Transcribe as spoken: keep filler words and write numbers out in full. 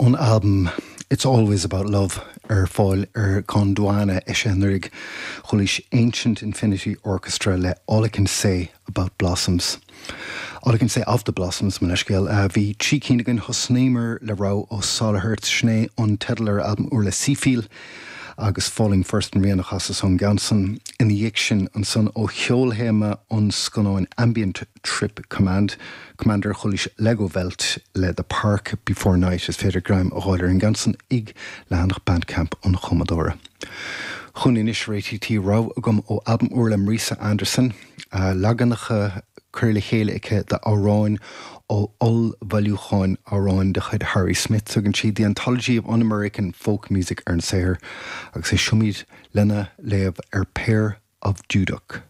Ón albam It's Always About Love ar fáil ar Gondwana eisithe anuraidh chualaís Ancient Infinity Orchestra le All I Can Say About Blossoms. All I Can Say of the Blossoms mo leithscéal bhí trí cinn againn thosnaíomar le rogha ó Solihertz sin é an teideal ar albam úr le Seefeel agus Falling First an rian a chasas ón gceann san ina dhiaidh sin ansan ó cheolthéama an scannáin Ambient Trip Command Commander chualaís Legowelt le The Park Before Night is féidir greim a fháil ar an gceann san ag leathanach Bandcamp an chumadóra. Chugainn anois réitithe rogha agam ó albam úr le Marisa Anderson, leaganacha curtha le chéile aici d'amhráin ó ollbhailiúchán amhrán de chuid Harry Smith tugann sí The Anthology of Un-American Folk Music ar an saothar agus éistfimid lena léamh ar Pair of Dudok.